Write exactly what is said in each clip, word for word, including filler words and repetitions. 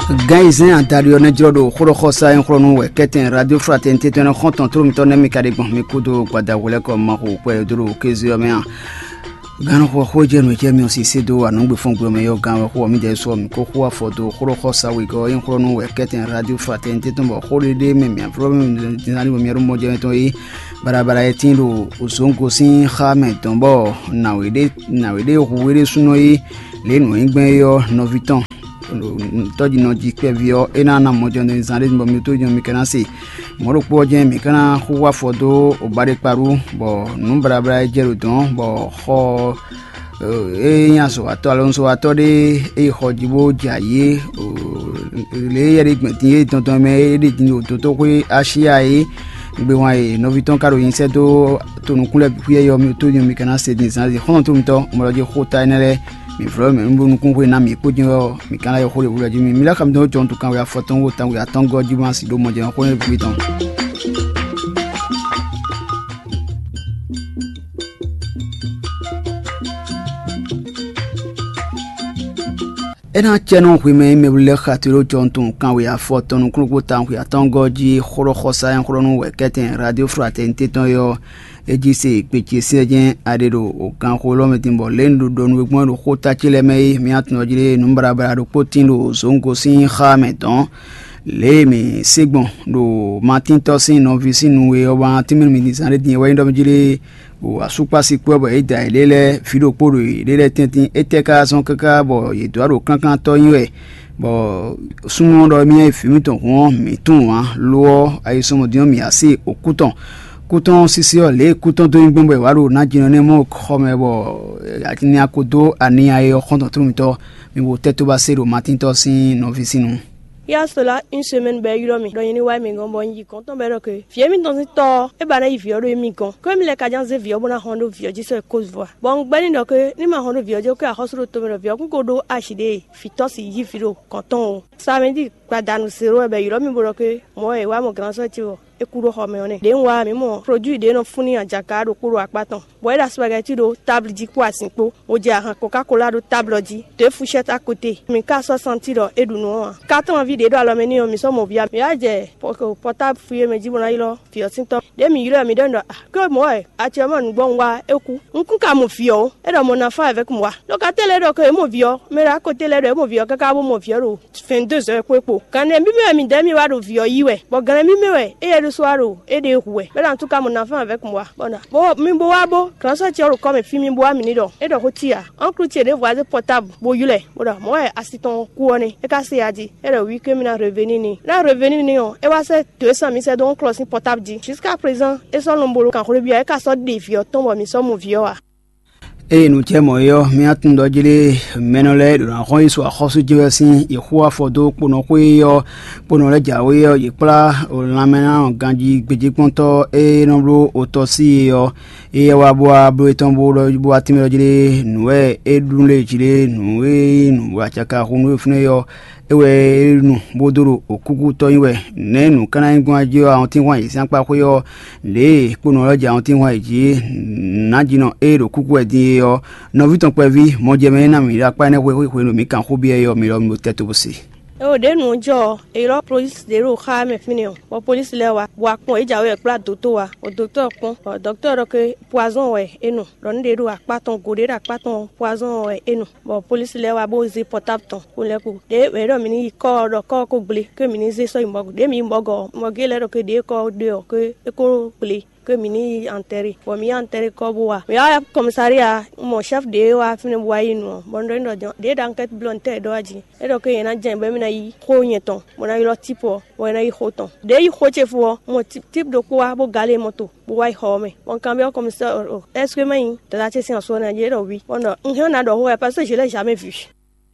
Gán e zɛ́n adaɖi ɔ́ nɛ́ jlɔ́ ɖo xóɖɔxɔsá e xlɔ́ nú wɛ kɛ́tɛn Radio Fraternité tɔn ɛnɛ xɔ́ntɔn tló mitɔn nɛ́ mi ka ɖe gbɔn mi kúdó gbadavǔlɛ́kɔ Mawu kpɛɖodó ɖo kéze ɔ́ mɛ a? Gannúxɔ xó jɛ nǔ e jɛ mi ɔ́ sisé dó anǔgbefɔ́ngbe ɔ́ mɛ yɔ́ gán wɛ xó ɔ́ mǐdɛɛ sɔ́ mǐ ko xó afɔ dó xóɖɔxɔsá wegɔ́ ɔ́ e xlɔ́ nú wɛ kɛ́tɛn Radio Fraternité tɔn bɔ xó ɖé ɖé mɛ mǐ aflɔ́ mɛ din ná ní bɔ mǐ ɖó mɔjɛmɛ tɔn é. Baɖabaɖa e tín ɖo zǒngo sín xá mɛ dɔn bɔ nǎwe ɖé nǎwe ɖé hu é ɖésúnɔ é lě e nǔ nyí gbɛn é ɔ́ nɔví tɔn tɔ́jínɔ jí kpɛví ɔ́ é ná ná mɔjɛmɛ zán ɖé bɔ mǐ tó nyɔ mi ka ná se. Mɔ̌ ɖokpó ɔ́ jɛ́n mǐ ka ná xúxú afɔ dó obaɖekpaɖú, bɔ nǔ baɖabaɖa e jɛ ɖo dɔ̌n bɔ xɔ e nyí azɔ̌watɔ́ alɔnuzɔ́watɔ́ ɖé e xɔ jí bó jɛ ayǐ é, lě e yɛ ɖé gbɛn din é dɔndɔn mɛ é ɖe din ɖo dotóxwé Asyá é. Gbewán e nɔví tɔn ka ɖo nyi sɛ́ dó tonukún lɛ́ɛ bǐ xwíyɛ́ ɔ́, mi tó din mi ka ná se din zǎnzǐ xɔ́ntɔn tómi tɔn mɔ ɖɔ jí xó ta énɛ́ lɛ́ɛ. Mǐ vlɔ́ mɛ nú nukún xwe ná mǐ kpó jɛ́n ɔ́, mǐ ka ná yɔ xó ɖě wú lɔ jí mi. Mi lá xá mi dɔn jɔntu kanwe afɔtɔn wo tawun atɔ́ngɔ́ jí ma si ɖó mɔjɛmɛ xó nɛ́ bǐ tɔn. É ná cɛ nú hwi mɛ e mɛ lɛ́ xa te ɖó jɔntu kanwe afɔtɔn nukúnnú tawun xwe atɔ́ngɔ́ jí xóɖɔxɔsá nyɔ́xlɔ́nú wɛ kɛ́tɛn Radio Fraternité tɔn é ɔ́, é jí se gbe ce syɛ́nsyɛ́n a ɖe ɖo ganxó élɔ́ mɛ din bɔ lě un ɖo ɖɔ nú we gbɔn ɖo xóta ce lɛ́ɛ mɛ é, mǐ tunwun jí ɖe nǔ baɖabaɖa ɖokpó tín ɖo zǒngo sín xá mɛ dɔ̌n. Lě e mǐ se gbɔn ɖo Matíntɔ́ sín nɔví sín nu e ɔ́ wá tínmɛ mǐ zán ɖé din é wɛ nyí ɖɔ mí jí ɖe ɖo asúkpási kpó ɔ́ bɔ yě da yě ɖe lɛ́ɛ vǐ ɖokpó ɖo yě ɖe lɛ́ɛ tɛ́ntin. Étɛ́ ka zɔ́n káká bɔ yě dó aɖo klánklántɔ́ nyi wɛ? Bɔ súnnu ɔ́ ɖɔ émí nyí vǐ mitɔn hǔn ɔ́, mǐ tunwun ǎ; lo ɔ́, ayisɔmɔdín ɔ́, mǐ wá se okú tɔn. Kú tɔn sísí ɔ́, lě e kú tɔn dó nyí gbɔn bɔ è wǎ ɖo nǎjínɔ nɛ́ mɔ xɔ mɛ bɔ atinnya ko dó aniya e ɔ́ xɔ́ntɔn tlú mitɔn, mi bo tɛ́ tó ba se ɖo Matíntɔ́ sín nɔví sín nu. Yá sola une semaine bɔ é ylɔ́ mì ɖɔ nyɛ ní wá émí gɔ́n, bɔ un yi gɔ̌n tɔn bɔ é ɖɔ ke vǐ émítɔn sín tɔ́ ɔ́, é ba ná yi vǐ ɔ́ ɖó émí gɔ́n. Có émí lɛ́ ka ján zé vǐ ɔ́ bó ná hɔn ɖó vǐ ɔ́ jí sɔ́ yi Côte d'Ivoire. Bɔ un gbɛ́ n'i ɖɔ ke ní ma hɔn ɖó vǐ ɔ́ jí, ó ké axɔ́sú ɖo tomɛ ɖɔ vǐ ɔ́ kún ko ɖó ashi ɖé e vǐ tɔ́ sixú yí vǐ ɖo gɔ̌n tɔn ó. Samedi gbadanu zéro wɛ bɔ è ylɔ́ mì bó ɖɔ ke mɔ̌ e wá mɔ gǎnzɔ́ ce ɔ́, é kú ɖó xɔ mɛ ɔ́ nɛ́. Ɖě un wá ɔ́, mǐ mɔ produit ɖě nɔ fún n'i ajaka ɖokpó ɖo akpá tɔn, bɔ é ɖo aspagɛti ɖó táblu jí kpó azinkpo, bó jɛ ahan kokákolá ɖó táblu ɔ́ jí, dě fushɛ́ti a côté. Mǐ ka sɔ́ santi ɖɔ é ɖu nǔ ɔ́ ǎ. Kátɔ́nví ɖě ɖo alɔ mɛ n'i ɔ́, mǐ sɔ́ mɔ vǐ ǎ. Mǐ wá jɛ pɔtáblu fú e mɛ jí bó ná ylɔ́ vǐ ɔ́ sín tɔ́. Ɖěe mǐ ylɔ́ ɛ, mǐ ɖɔ n'i ɖɔ: "Ah, ké mɔ̌ wɛ a ce ɔ́ mɔ nǔgbó un wa é kú. Un kún ka mɔ vǐ ɔ́ ó." É ɖɔ mɔ nafán avɛ́k mɔ wa. Ɖo ka tɛ́ lɛ́ɛ ɖɔ ke é mɔ vǐ ɔ́, mɛ ɖo akɔté lɛ́ɛ ɖɔ é mɔ vǐ ɔ́ káká bó mɔ vǐ ɔ́ ɖo vingt-deux heures kpó é kpo. Gan nɛ́ mì mɛ wɛ midɛɛ mì wá ɖo vǐ ɔ́ yí wɛ, bɔ gan nɛ́ mì mɛ wɛ éyɛ́ ɖésú wá ɖo éɖée hu wɛ. Bɛ́ ɖɔ antu ka mɔ nafán avɛ́k mɔ wa. Bɔ na bó mi bó wá bó gǎnsɔ́ ce ɔ́ ɖo kɔ́ mǐ fí mi bó wá mǐ ní ɖɔ é ɖɔ xó cí ǎ. Ɔ́nklu ce ɖěvo wá zé pɔtábl bó ylɔ́ ɛ, bó ɖɔ mɔ̌ wɛ asi tɔn kú ɔ́ nɛ́, é ka se ya jí. É ɖɔ wǐ ké mi ná reveni n'i. Ná reveni n'i ɔ́, é wá sɛ́ dǒ e sán mǐ sɛ́ dó ɔ́nklu ɔ́ sín pɔtábl jí. Jusqu'à présent, é sɔ́ nɔ bó ɖo kanxwlébyɔ́, é ka sɔ́ ɖe vǐ ɔ́ tɔn bɔ mǐ sɔ́ mɔ vǐ ɔ́ ǎ. Eye nǔ jɛ mɔ̌ é ɔ́, mì tunwun ɖɔ jí ɖé mɛnɔ lɛ́ɛ ɖo ná xɔ́n yi so axɔ́sú jɛ wɛ sín yě xú afɔ dó kponɔxwé ɔ́, kponɔ lɛ́ɛ jǎwe ɔ́, yě kplá lanmɛ ná ganjí gbějékpɔ́ntɔ́ e nɔ bló otɔ́ sí é ɔ́, éyɛ́ wá bó wá bló étɔn bó ɖɔ bó wá tínmɛ ɖɔ jí ɖé nǔ wɛ é ɖu lé jí ɖé nǔ e nyí nǔ acaka xú nú é fínɛ́ ɔ́, é wɛ é nu bó dó ɖo òkúkútɔ́ nyi wɛ. Nɛ̌ nǔ ka ná nyí gbɔn jí ɔ́, awɔntín hwan yě sín akpá xwé ɔ́, lě e kponɔ lɛ́ɛ jɛ awɔntín hwan yě jí nǎjínɔ e ɖo kúkú wɛ din é ɔ́, nɔví tɔn kpɛví mɔjɛmɛ e ná mǐ ɖo akpá énɛ́ xwé xwé hwenu e mǐ kan xó byɔ́ é ɔ́, mi lɔ mi bo tɛ́ tó bó se. É o ɖě nǔ ɔ́ jɔ ɔ́, è ylɔ́ polísi ɖě ɖo xá mɛ fínɛ́ ɔ́, bɔ polísi lɛ́ɛ wá, bɔ akpɔ́n yě jǎwe wɛ kplá dǒtó wá, bɔ dǒtó ɔ́ kpɔ́n, bɔ dɔ̌ktɔ́ ɔ́ ɖɔ ké poison wɛ é nu, ɖɔ nǔ ɖě ɖo akpá tɔn, go ɖě ɖo akpá tɔn poison wɛ é nu, bɔ polísi lɛ́ɛ wá bó zé pɔtábl tɔn bó lɛ́ kú. Ɖě mɛ ɖɔ mǐ ní yi kɔ́ ɔ́ ɖɔ kɔ́ ɔ́ kó gblé, ké mǐ ní zé sɔ́ yi mɔ̌gu. Ɖě mǐ yi mɔ̌gu ɔ́, mɔ̌gu lɛ́ɛ ɖɔ ké ɖě kɔ́ ɔ́ ɖe ɔ́, ké é kó gblé, ké mǐ ní yi antɛ́ré, bɔ mǐ yi antɛ́ré kɔ́ bó wá. Mǐ wá kɔmísariya, un mɔ chɛ́fu ɖě wá fínɛ́ bó wá yi nu ɔ́, bɔ un ɖɔ n'i ɖɔ jɔn ɖě ɖo ankɛ́t blɔ́ ntɛ́ ɖɔ wá jí. É ɖɔ ké yě ná jɛ bɔ mí ná yi xó nyɛ tɔn, bó ná ylɔ́ típù ɔ́, bɔ é ná yi xó tɔn. Ɖěe yi xó ce fó ɔ́, un mɔ típù ɖokpó wá bó galé mɔto, bó wá yi xɔ ɔ́ mɛ. Bɔ un kanbyɔ́ kɔmísɛ́ ɔ́ ɖɔ: "Ɛ́seke má nyí dada ce sín asú ɔ́ nɛ́?" Yě ɖɔ: "Wi." Bɔ un ɖɔ: "Un hɛn ɔ́ ná ɖɔ xó wɛ, paseke je l'ai jamais vu."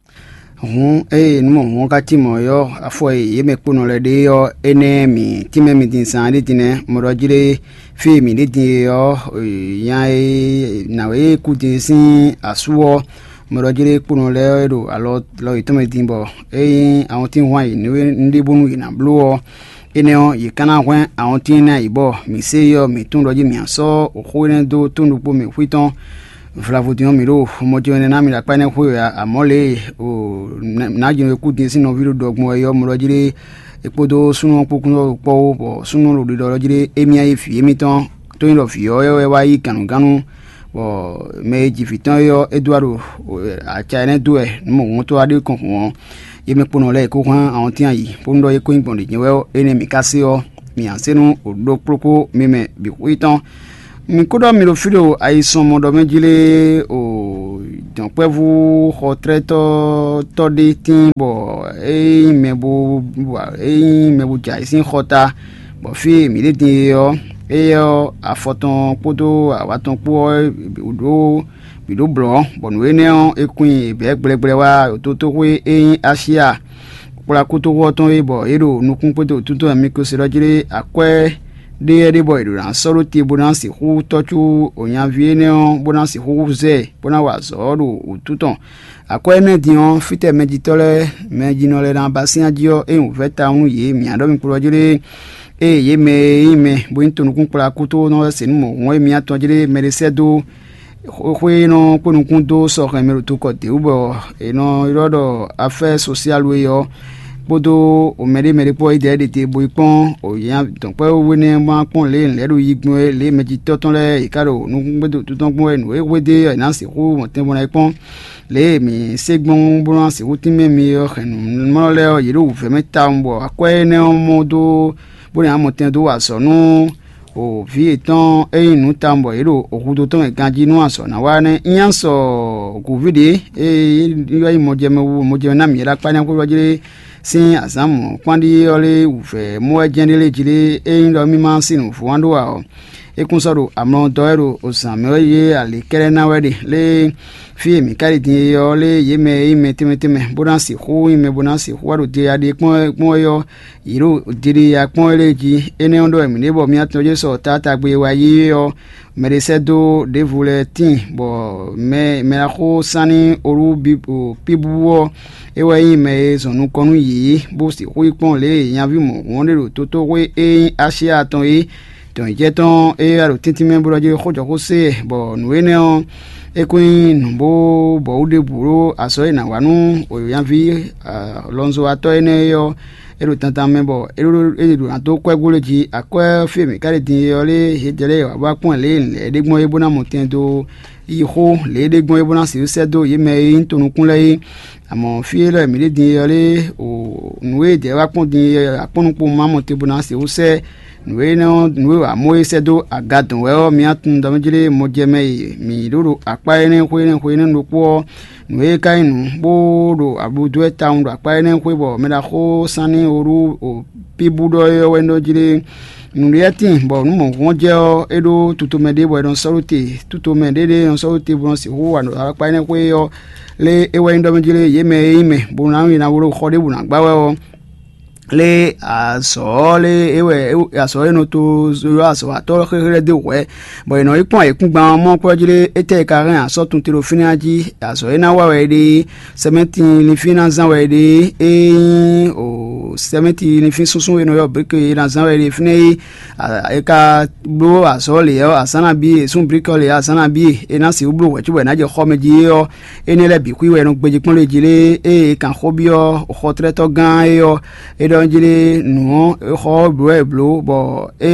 Hǔn ée nǔ mɔ̌hun ɔ́ ka cí mɔ̌ é ɔ́, afɔ e yě mɛ kponɔ lɛ́ɛ ɖe ɔ́, énɛ́ mǐ tínmɛ mi din zaan ɖé din nɛ́. Mɔ ɖɔ jí ɖé fí e mǐ ɖe din e ɔ́, nya e nǎwe e kú din sín asú ɔ́, mɔ ɖɔ jí ɖé kponɔ lɛ́ɛ e ɖo alɔ lɔ yětɔn mɛ din bɔ é nyí awɔntín hwan yě nú ɖe bónú yě ná bló ɔ́, énɛ́ ɔ́, yě ka ná hwɛ́n awɔntín ná yě bɔ mǐ sé yi ɔ́, mǐ tunwun ɖɔ jí mǐ ná sɔ́ xó énɛ́ dó tónú ɖokpó mɛ xwí tɔn. Vlavo din ɔ́, mǐ ɖo mɔ ce ɛnɛ ná mì ɖo akpá énɛ́ xwé wɛ ǎ, amɔ̌ lě e nǎjinɔ e kú din sín nɔví ɖo ɖɔ gbɔn wɛ é ɔ́, mɔ ɖɔ jí ɖé é kpódó súnnu ɔ́ kpó kún ɖɔ kpɔ́ wú, bɔ súnnu ɖo ɖiɖɔ ɖɔ jí ɖé émí ná nyí vǐ émítɔn. Tó nyí ɖɔ vǐ ɔ́ wɛ wá yí gǎnnugánnu, bɔ mɛ e ji vǐ tɔn é ɔ́, é dó wá ɖo aca énɛ́ dó wɛ nǔ mɔ̌hunkɔtɔn wá ɖe kɔn hǔn ɔ́, yě mɛ kponɔ lɛ́ɛ è kó hán awɔntín ayǐ, bónú ɖɔ é kó nyí gbɔn ɖě jɛ́n wɛ ɔ́, énɛ́ mǐ ka se ɔ́, mǐ ǎ se nú ɖó kplókpó mi mɛ bǐ xwí tɔn. Mi kú ɖɔ mi ɖo fí ɖo ayisɔnmɔ ɖɔ mɛ jí lé o dɔ̌nkpɛvú xɔtlɛ́tɔ́ tɔ́ ɖé tíin, bɔ é nyí mɛ bo é nyí mɛ bo jɛ ayǐ sín xɔta, bɔ fí e mǐ ɖe din é ɔ́, éyɛ́ ɔ́, afɔ tɔn kpódó awǎ tɔn kpó ɔ́ ɖó bǐ ɖó blɔ̌, bɔ nǔ énɛ́ ɔ́, é kún nyi bɛ̌ gblɛ́gblɛ́ wá ɖo totóxwé e nyí Asyá kplá kútóxú ɔ́ tɔn é, bɔ é ɖo nukún kpódó wǔtúntɔ́ mikroselɔ́ jí ɖé akwɛ́ ɖé yɛ́ ɖé, bɔ è ɖǒ ná sɔ́ ɖó te bó ná sixú tɔ́ có nyaví énɛ́ ɔ́, bó ná sixú zɛ ɛ, bó ná wa azɔ̌ ɔ́ ɖo wǔtu tɔn. Akwɛ́ énɛ́ din ɔ́, fítɛ́ mɛjitɔ́ lɛ́ɛ, mɛjinɔ lɛ́ɛ ná ba sín ají ɔ́, é nyí wǔvɛ́ tawun nú yě. Mǐ ná ɖɔ mi kplɔ́ jí ɖé, ée yě mɛ e nyí mɛ bó nyí tonukúnkplakútónɔ lɛ́ɛ se nú mɔ̌hun e mǐ atɔn jí ɖé mɛ ɖé sɛ́ dó xwé e nɔ kpó nukún dó sɔ́ hɛn mɛ ɖo tokɔ dě wú, bɔ è nɔ ylɔ́ ɖɔ afɛ́ sosiálu é ɔ́, kpódó mɛɖé mɛɖé kpó ɔ́, yi dɛ̌ ɖě te bo yi kpɔ́n dɔ̌nkpɛ́vú énɛ́ ma kpɔ́n lě e lɛ̌ ɖo yi gbɔn é, lě e mɛjitɔ́ tɔn lɛ́ɛ yě ká ɖo nukúngbédó tɔn gbɔn wɛ nǔ e hwedó é ɔ́, è nǎ sixú mɔ tɛn bó ná yi kpɔ́n. Lě e mǐ se gbɔn bó ná sixú tínmɛ mi ɔ́ hɛn nǔmlɔ́ lɛ́ɛ ɔ́, yě ɖo wǔvɛ́ mɛ tawun, bɔ akwɛ́ énɛ́ ɔ́ mɔ dó bó ná mɔ tɛn dó wa azɔ̌ nú o vǐ yětɔn e nyí nǔ tawun bɔ yě ɖo hudó tɔn mɛ ganjí nú azɔ̌ ná wa nɛ́. Nyí azɔ gǔví ɖě e yɔ nyí mɔjɛmɛ wu mɔjɛmɛ ná mǐ é ɖo akpá nyáxó jí lé sín azǎn mɔ̌kpán ɖíe ɔ́ lé wǔvɛ́ mɔ wɛ jɛ́n ɖé lé jí lé, é nyí ɖɔ mì ma sin nǔvú wán ɖó ǎ ɔ́, é kún sɔ́ ɖo amlɔ dɔ́ wɛ ɖo zǎn mɛ wɛ yé alě kɛ́ɖɛ́ ná wɛ ɖe lé. Fí e mǐ ka ɖi din e ɔ́ lé, yě mɛ e nyí mɛ tɛnmɛ tɛnmɛ bó ná sixú nyí mɛ bó ná sixú wá ɖo deya ɖe kpɔ́n wɛ kpɔ́n é ɔ́, yě ɖo deɖeya kpɔ́n wɛ lée jí. Énɛ́ ɔ́ ɖɔ wɛ mǐ ɖe bɔ mǐ atɔn jɛ sɔ taatagbe e wá yí é ɔ́, mɛ ɖé sɛ́ dó ɖěvo lɛ́ɛ tíin, bɔ mɛ mɛ ná xo sán ní olú píbú ɔ́, é wɛ nyí mɛ e zɔn nukɔn nú yě, bó sixú yi kpɔ́n lě e nyaví mɔ̌hun ɔ́ ɖe ɖo tótóxwé e nyí Asyá tɔn é. Dɔ̌nyijɛ tɔn e wá ɖo tɛ́ntin mɛ bó ɖɔ jí xó jɔ xó se, bɔ nǔ énɛ́ ɔ́, é kún nyí nǔ bó bɔ wú ɖěbǔ ɖó azɔ̌ e è nǎ wa nú nyaví lɔnzɔ́watɔ́ énɛ́ é ɔ́, é ɖo dandan mɛ, bɔ é ɖo é ɖo ná dó kwɛ́ gbló jí. Akwɛ́ fí e mǐ ka ɖe din é ɔ́ lé, yě jɛ lɛ́ɛ wǎ bó wá kpɔ́n lě e è lɛ̌ ɖé gbɔn é bó ná mɔ tɛn dó yi xó lě e ɖé gbɔn é bó ná sixú sɛ́ dó yě mɛ e nyí tonukún lɛ́ɛ é. Amɔ̌ fí élɔ́ e mǐ ɖe din é ɔ́ lé, o nǔ e jɛ wá kpɔ́n din é, akpɔ́nukpo ma mɔ te bó ná sixú sɛ́ nǔ e nɔ nǔ e wǎ mɔ é sɛ́ dó aga dɔn wɛ ɔ́, mi tunwun ɖɔ mɛ jlé mɔjɛmɛ e mǐ ɖó ɖo akpá énɛ́ xwé énɛ́ xwé énɛ́ ɖokpó ɔ́, nǔ e ka nyí nǔ bó ɖo ablu dó wɛ tawun ɖo akpá énɛ́ xwé, bɔ mɛ ɖaxó Sanni Olú o Píbú ɖɔ é ɔ́ wɛ nɔ jlé nǔɖéyɛ́tin, bɔ nǔ mɔ̌hunkɔn jɛ ɔ́, é ɖó tutomɛ ɖé bɔ è nɔ sɔ́ ɖó te. Tutomɛ ɖé ɖé è nɔ sɔ́ ɖó te bó nɔ sixú wa ɖo akpá énɛ́ xwé ɔ́ lé é wɛ nyí ɖɔ mɛ jlé yě mɛ e nyí mɛ bó ná nyi na wló xɔ ɖěbǔ ná gbá wɛ ɔ́, lé azɔ̌ lé é wɛ azɔ̌ e nɔ to ylɔ́ azɔ̌watɔ́ xéxé lɛ́ɛ dó hwɛ̌, bɔ è nɔ yi kpɔ́n ayǐkúngban ɔ́ mɔ kwɛ́ jlé étɛ́ e ka hɛn asɔ́ tun te ɖo fínɛ́ jí. Azɔ̌ e ná wa wɛ é ɖe, sɛmɛ́ti linfín ná zán wɛ é ɖe, é nyí o sɛmɛ́ti linfín súnsún e nɔ ylɔ́ brike é ná zán wɛ é ɖe fínɛ́ é. È ka bló azɔ̌ lě ɔ́, azǎn nabí e, è sún brike ɔ́ lě azǎn nabí e, è nǎ sixú bló hwɛ̌ cóbɔ è nǎ jɛ xɔ mɛ jí é ɔ́, énɛ́ lɛ́ɛ bǐ xwí wɛ è nɔ gbéjé kpɔ́n lé jí lé. Ée è kan xó byɔ́ xɔtlɛ́tɔ́ gán é ɔ́, é ɖɔ jí lé nǔ ɔ́, xɔ ɔ́ blǒ wɛ è blǒ, bɔ é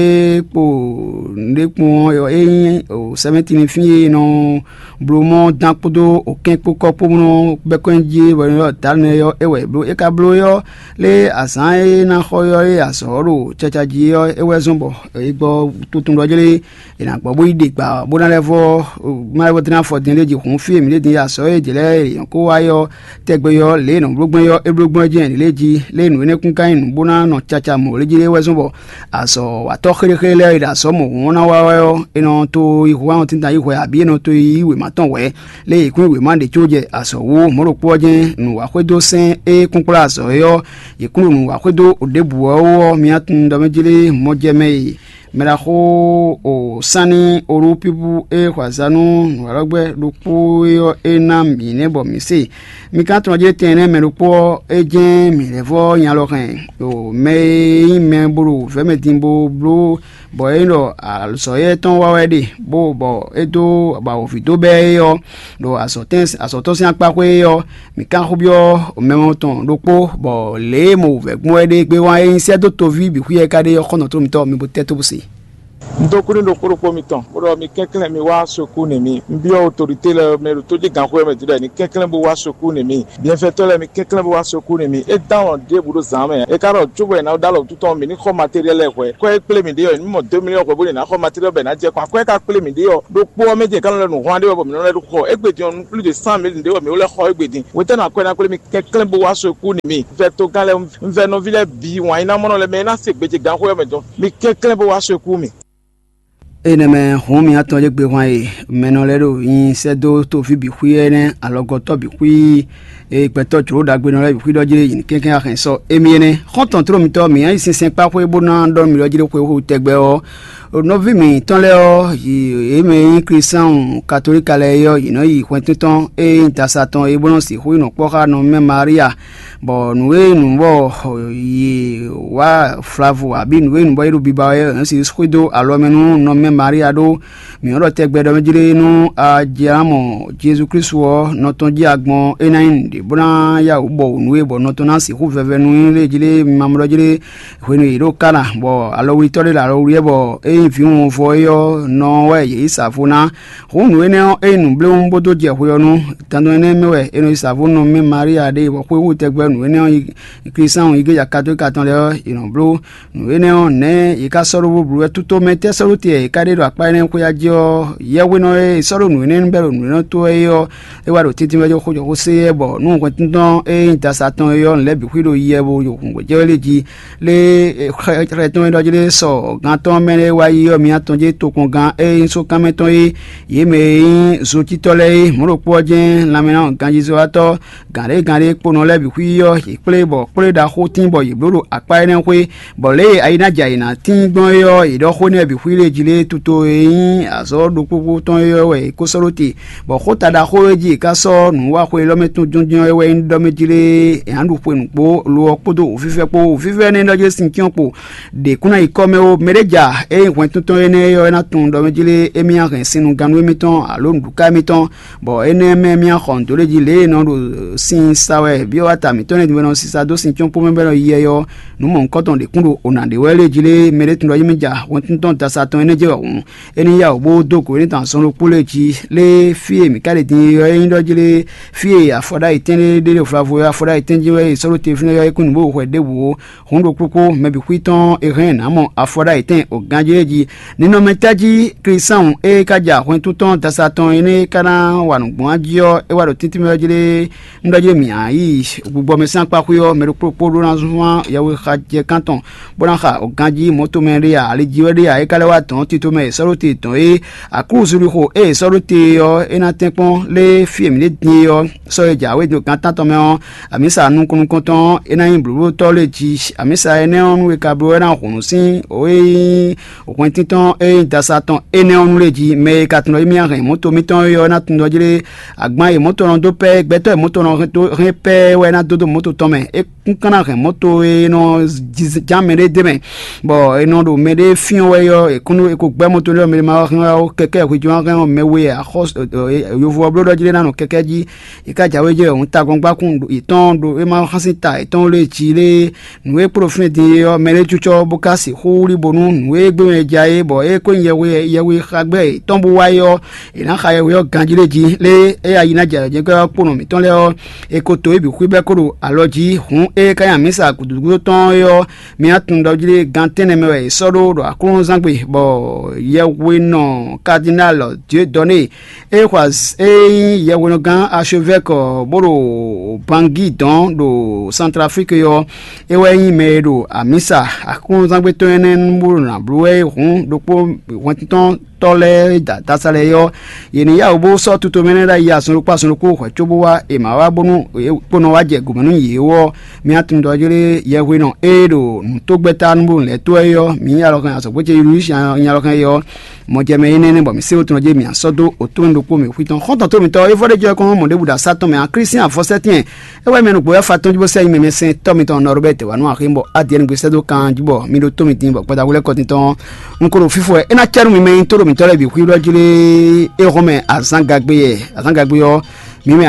kpo nǔɖé kpɔ́n ɔ́, é nyí sɛmɛ́ti linfín e nɔ bló mɔ dán kpódó okɛ́n kpó kɔ́ kpó nɔ bɛ́ kɔn jí, bɔ é nɔ ylɔ́ Dǎnúɛ́li ɔ́, é wɛ è blǒ. É ka bló é ɔ́, lé azǎn e ná xɔ ɔ́ e azɔ̌ ɔ́ ɖo caca jí ɔ́, é wɛ zɔ́n bɔ è gbɔ tuntun ɖɔ jlé è nǎ gbɔ bó yi ɖe gba bó ná lɛ́ vɔ má lɛ́ vɔ dó ná fɔ din lé jí hǔn fí e mǐ ɖe din azɔ̌ e jě lɛ́ɛ è nyɔ̌ kó wá ɔ́ tɛgbɛ ɔ́, lě e è nɔ bló gbɔn é ɔ́, é bló gbɔn é jɛ́n lě jí. Lě e nǔ énɛ́ kún ka nyí nǔ bó ná nɔ caca mɔ̌ lé jí é wɛ zɔ́n bɔ azɔ̌watɔ́ xéɖéxéɖé lɛ́ɛ e ɖo azɔ̌ mɔ̌hunkɔtɔn ná wa wɛ ɔ́, è nɔ to yi hu wá nɔ tínta yi hwɛ abǐ è nɔ to yi wěma tɔn hwɛ̌. Lě e yě kún yi wěma ɖě có jɛ azɔ̌ wú mɔ̌ ɖokpó ɔ́ jɛ́n nǔ wa xwedó sɛ́n e kún kplá azɔ̌ é ɔ́, yě kún ɖo nǔ wa xwedó ɖěbǔ ɔ́ wú ɔ́, mi tunwun ɖɔ mɛ jlé mɔjɛmɛ e Mɛ ɖaxó o sanni olúpíbú e xɔ azǎn nú nǔwalɔ́gbɛ́ ɖokpó é ɔ́, é ná mǐ nɛ́ bɔ mǐ se. Mi ka tunwun jí tɛn nɛ́ mɛ ɖokpó ɔ́, é jɛ́n mǐ lɛ́ vɔ́ nya lɔ hɛn ɖo mɛ e nyí mɛ bó ɖo vɛ̌mɛ din bó bló bɔ é nyí ɖɔ azɔ̌ éyɛ́ tɔn wa wɛ ɖe, bó bɔ é dó bɔ awǒvi dó bɛ́ é ɔ́, ɖo azɔ̌ tɔn sín akpa xwé é ɔ́, mǐ ka xó byɔ́ mɛ tɔn ɖokpó, bɔ lě e mɔ wǔvɛ́ gbɔn wɛ ɖe gbé wán e nyí sɛ́ dó toví bǐ xwí ɛ ka ɖe ɔ́, xɔ́ntɔn mitɔn mi bo tɛ́ tó bó se. Un dó kú ní ɖokpó ɖokpó mitɔn, bó ɖɔ mi kɛnklɛ́n mi wá sokú n'i mì. Un byɔ́ otorité lɛ́ɛ mɛ ɖo tójígǎnxwé ɔ́ mɛ din ɖɔ è ní kɛnklɛ́n bó wá sokú n'i mì. Biɛnfɛtɔ́ lɛ́ɛ mi kɛnklɛ́n bó wá sokú n'i mì. É dán alɔ ɖěbǔ ɖo zǎn mɛ. É ka ɖɔ cóbɔ è nǎ ɖó alɔ wútu tɔn mì ní xɔ matériɛl lɛ́ɛ hwɛ̌. Kwɛ́ é kplé mǐ ɖe ɔ́, è ní mɔ dó miliyɔn hwɛ bó lě ná xɔ matériɛl bɔ è nǎ jɛ kɔn. Akwɛ́ ka kplé mǐ ɖe ɔ́, ɖokpó ɔ́ mɛ din è ka nɔ lɛ́ nǔ hwan ɖé wɛ bɔ mǐ nɔ lɛ́ ɖó xɔ. Égbé din ɔ́, nú plus de cent mille ɖé wɛ mǐ ó lɛ́ xɔ égbé din. Hwetɛ́nu akwɛ́ ná kplé mi kɛnklɛ́n bó wá sokú n'i mì. Vɛtogán lɛ́ɛ, un vɛ nɔví lɛ́ɛ bǐ wǎn nyí ná mɔ nɔ lɛ́ɛ mɛ e ná se gbějegǎnxwé ɔ́ mɛ dɔn. Mi kɛnklɛ́n bó wá sokú mì. Énɛ́ mɛ hǔn mi atɔn ɖé gbe hwan e mɛnɔ lɛ́ɛ ɖo nyi sɛ́ dó toví bǐ xwí énɛ́, alɔgɔ́tɔ́ bǐ xwí, e gbɛtɔ́ jlǒ ɖagbenɔ lɛ́ɛ bǐ xwí ɖɔ jí yě ní kɛnklɛ́n wá hɛn sɔ́ émí énɛ́. Xɔ́ntɔn tló mitɔ́, mǐ nyi sinsɛn kpá xwé bó ná ɖɔ nǔ ɖɔ jí ɖó xwé xwé tɛgbɛ ɔ́, nɔví mǐtɔn lɛ́ɛ ɔ́, yě mɛ e nyí Klísáun katolíka lɛ́ɛ é ɔ́, yě nɔ yi hwɛntɔ́ntɔn e nyí dasa tɔn é bó nɔ́ sixú yi nɔ kpɔ́ xá nɔ mɛ Maria, bɔ nǔ e nǔ bɔ yě wá Flavu abǐ nǔ e nǔ bɔ é ɖo biba wɛ é nɔ sixú xwedó alɔ mɛ nú nɔ mɛ Maria ɖó. Mǐ nɔ ɖɔ tɛgbɛ ɖɔ mɛ jlé nú a jɛ ná mɔ Jezu Klísu ɔ́, nɔ tɔn jí a gbɔn é ná nyí nǔɖé bó ná yá wǔ bɔ wǔ nú we, bɔ nɔ tɔn ná sixú vɛvɛ nú nyí lé jlé mamlɔ́ jlé hwenu e yě ɖo Kana, bɔ alɔwlítɔ́ ɖé ɖo alɔ wlí wɛ, bɔ é nyí vǐwun vɔ é ɔ́ nɔ wɛ yě yi sa vo ná. Hǔn nǔ énɛ́ ɔ́, é nyí nǔbléwún bó dó jɛ hwe ɔ́ nu. Dandan énɛ́ mɛ wɛ è nɔ yi sa vo nɔ mɛ Maria ɖe, bɔ xwéxwú tɛgbɛ nǔ énɛ́ ɔ́, Klísáun igleja katolíka tɔn lɛ́ɛ ɔ́, è nɔ bló. Nǔ énɛ́ ɔ́, nɛ̌ yě ká sɔ́ ɖó bó bló wɛ? Tito mɛ tɛ́ sɔ́ ɖó te yě ká ɖe ɖo akpá énɛ́ xwé jí ɔ́, yɛhwenɔ e è sɔ́ ɖó nǔ énɛ́ bɛ́ ɖo nǔ énɛ́ tó wɛ é ɔ́, é wá ɖo tɛ́ntin wɛ jó xó jɔ xó sé yɛ, bɔ nú hwɛntɔ́ntɔn e nyí dasa tɔn é ɔ́, nǔ lɛ́ɛ bǐ xwí ɖo yiyɛ bo ɖo hǔngbɛ́jɛ́ wɛ lé jí. Lé xlɛ tɔn e ɖɔ jí lé sɔ gán tɔn mɛ lɛ́ɛ wá yi ɔ́, mi atɔn jí tokpɔngán e nyí sókanmɛ tɔn é, yě mɛ e nyí zotítɔ́ lɛ́ɛ é, mɔ̌ ɖokpó ɔ́ jɛ́n lanmɛnánɔ ganjízɔ́watɔ́ gǎn ɖé gǎn ɖé kponɔ lɛ́ɛ bǐ xwí ɔ́, yě kplé bɔ kplé ɖaxó tín bɔ yě bló ɖo akpá énɛ́ xwé, bɔ lě e ayi ná jɛ ayǐ ná tín gbɔn é ɔ́, yě ɖɔ xó énɛ́ bǐ xwí lé jí lé tuto e nyí azɔ̌ ɖokpókpó tɔn é ɔ́ wɛ è ko sɔ́ ɖó te, bɔ xóta ɖaxó e jí è ká sɔ́ nǔwaxwe élɔ́ mɛ tɔn jɔ́njɔ́n é wɛ nyí ɖɔ mɛ jí lé è nǎ ɖu xwe nǔgbó lo ɔ́ kpódó wǔvívɛ́ kpó. Wǔvívɛ́ énɛ́ ɖɔ jlé sin cyɔ́n kpo ɖě kún ná yi kɔ́ mɛ ó. Mɛ ɖé ja ée nyí hwɛntɔ́ntɔ́n énɛ́ é ɔ́, é ná tunwun ɖɔ mɛ jí lé émí ná hɛn sinnugannú émítɔn alo nǔɖuká émítɔn, bɔ énɛ́ mɛ mì axɔ nǔ dó lé jí lě e è nɔ ɖo sin sa wɛ byɔ́ wata mǐtɔn lɛ́ɛ din bɔ è nɔ sisa dó sin cɔ́n kpó mɛ bɔ é nɔ yi yɛ ɔ́, nǔ mɔ̌hunkɔtɔn ɖě kún ɖo ona ɖě wɛ lé jí lé mɛ ɖé tun ɖɔ émí ja hwɛntɔ́ntɔn dasa tɔn énɛ́ jɛ wɛ hǔn, é ní yá wǔ bó dó gǒ énɛ́ tɔn azɔn ɖokpó lɛ́ɛ jí. Lé fí e mǐ ka ɖe din é ɔ́, é nyí ɖɔ jí lé fí e afɔɖ'ayǐtɛn ɖé ɖe ɖo vlavo é, afɔɖ'ayǐtɛn jí wɛ è sɔ́ ɖó te fínɛ́ ɔ́, é kún nǔ bó hwɛ ɖěbǔ ó. Hǔn ɖo kpókpó mɛ bǐ xwí tɔn è hɛn nǎ mɔ afɔɖ'ayǐtɛn o ganjí é jí. Ninɔmɛ tɛ́ jí Klísáun e ka ja hwɛntún tɔn dasa tɔn énɛ́ é ka ná wa nǔ gbɔn jí ɔ́, é wá ɖo tɛ́ntin mɛ jí lé un ɖɔ jí mǐ yi gbigbɔ mɛ sín akpa xwé ɔ́, mɛ ɖokpó ɖokpó ɖó ná zɔ́n yɛhwe xa jɛ kántɔn, bó ná xa o ganjí mɔ̌tomɛ ɖé a, ali jí wɛ ɖé a, é ka lɛ́ wá dɔn tito mɛ è sɔ́ ɖó te dɔn é. Aklúzu lixo e è sɔ́ ɖó te ɔ́, é ná tɛ́nkpɔ́n lé fí e mǐ ɖe din é ɔ́, sɔ́ e jǎwe dó gǎn tántɔn mɛ ɔ́, amǐsa nukɔn nukɔn tɔn é ná nyí blǒblótɔ́ lě jí. Amǐsa énɛ́ ɔ́, nú è ka bló ɔ́, é ná hun nǔ sín o e nyí hwɛntíntɔ́n e nyí dasa tɔn énɛ́ ɔ́ nú lě jí. Mɛ e ka tunwun ɖɔ émí ná hɛn mɔ̌to mitɔn é ɔ́, é ná tunwun ɖɔ jí lé agban e mɔ̌to nɔ dó pɛ́, gbɛtɔ́ e mɔ̌to nɔ hɛn pɛ́ wɛ é ná dó dó mɔ̌to tɔn mɛ. É kún ka ná hɛn mɔ̌to e nɔ ján mɛɖé d'é mɛ, bɔ è nɔ ɖo mɛɖé fyɔ́n wɛ é ɔ́, è kún è ko gbɛ́ mɔ̌to lɛ́ɛ mɛ ma wá hɛn wá kɛkɛ́ hwejɔ́n hɛn ɔ́, mɛ we ǎ xɔ yovo ɔ́ bló ɖɔ jí lé ná nɔ kɛkɛ́ jí. È ká jǎwe jɛ òun tagbɔngbákún yětɔn ɖo é ma xásín ta yětɔn lé jí lé. Nǔ e kpló fínɛ́ din é ɔ́, mɛ ɖé cucɔ bó ka sixú wlí bónú nǔ e gbé mɛ ja é, bɔ é ko nyí yɛhwe yɛhwe xagbɛ́ yětɔn bó wá é ɔ́, è nǎ xa yɛhwe ɔ́ ganjí lé jí. Lé é ayi ná jɛ ayɔjɛ́nkɛ́ ɔ́ kponɔ mǐtɔn lɛ́ɛ ɔ́, è ko to é bǐ xwíbɛ́ kó ɖo alɔ jí. Hǔn é ka nyi amǐsa gǔdúgúdó tɔn é ɔ́, mi ná tunwun ɖɔ jí lé gan tɛ́nnɛ mɛ wɛ è sɔ́ ɖó ɖo aklúnɔzán gbe, bɔ yɛhwenɔ Cardinal Dieudonné e xɔ az- e nyí yɛhwenɔgán archevêque bó ɖo Bangui dɔn ɖo Centrafrique ɔ́, é wɛ nyí mɛ e ɖo amǐsa aklúnɔzán gbe tɔn énɛ́ nú bó ɖo nǎ bló wɛ é hǔn ɖokpó hwɛntɔ́n tɔ́ lɛ́ɛ e da dasa lɛ́ɛ é ɔ́, yě ní yá wǔ bó sɔ́ tutomɛ lɛ́ɛ ɖ'ayǐ azɔn ɖokpó azɔn ɖokpó hwɛ̌ cóbó wá è ma wá bónú kpónɔ wá jɛ gǔmɛ nú yě ó ɔ́, mì atundɔjlé yɛhwenɔ e ɖo nǔtógbɛ́ta nú bó lɛ́ tó wɛ é ɔ́, mǐ nyí alɔkɛn azɔ̌gbó ce Yulúsi nyí alɔkɛn é ɔ́, mɔjɛmɛ énɛ́ nɛ́ bɔ mǐ sé wotɔn jí mǐ sɔ́ dó òtún ɖokpó mǐ xwí tɔn. Xɔ́ntɔn tómítɔ́ é vɔ́ ɖé jɔ kɔn mɔ̌ ɖěbǔ ɖo asá tɔn mɛ ǎ, Klísián afɔsɛ́tɛ́n é wɛ mɛ nukpo wɛ fa tɔn jí bó sɛ́ nyi mɛ mɛ sɛn tɔ́ mitɔn Nɔrobɛ́ti wǎ nú axi bɔ Adiɛni gbé sɛ́ dó kan jí bɔ mi ɖo tó mitɔn bɔ gbadagbo lɛ́ɛ kɔ tintɔn. Un ko ɖo fífɔ wɛ é ná cɛ nú mi mɛ nyí tóɖo mǐtɔn lɛ́ɛ bǐ xwíɖɔ jlé é hɔn mɛ azǎn gagbe yɛ azǎn gagbe ɔ́, mi mɛ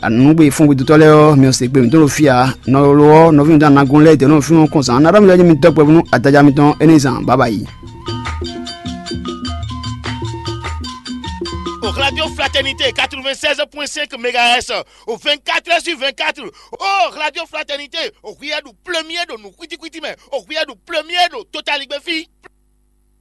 anǔgbé fúngbedótɔ́ lɛ́ɛ ɔ́, mi ɔ́ se gbe mǐtɔn ɖo fí ǎ. Nɔ lo ɔ́, nɔví mǐtɔn Anagun lɛ́ɛ dɛ̌ nɔ fínú kɔn zǎn ná ɖɔ mi lɛ́ɛ mi dɔ́ gbɛvú nú adaja mitɔn énɛ́ zǎn baba yi. Au Radio Fraternité quatre-vingt-seize point cinq mégahertz, au vingt-quatre heures sur vingt-quatre. Oh, Radio Fraternité, au Riyadu premier de nous, Kwiti Kwiti, mais au Riyadu premier de Total Igbefi.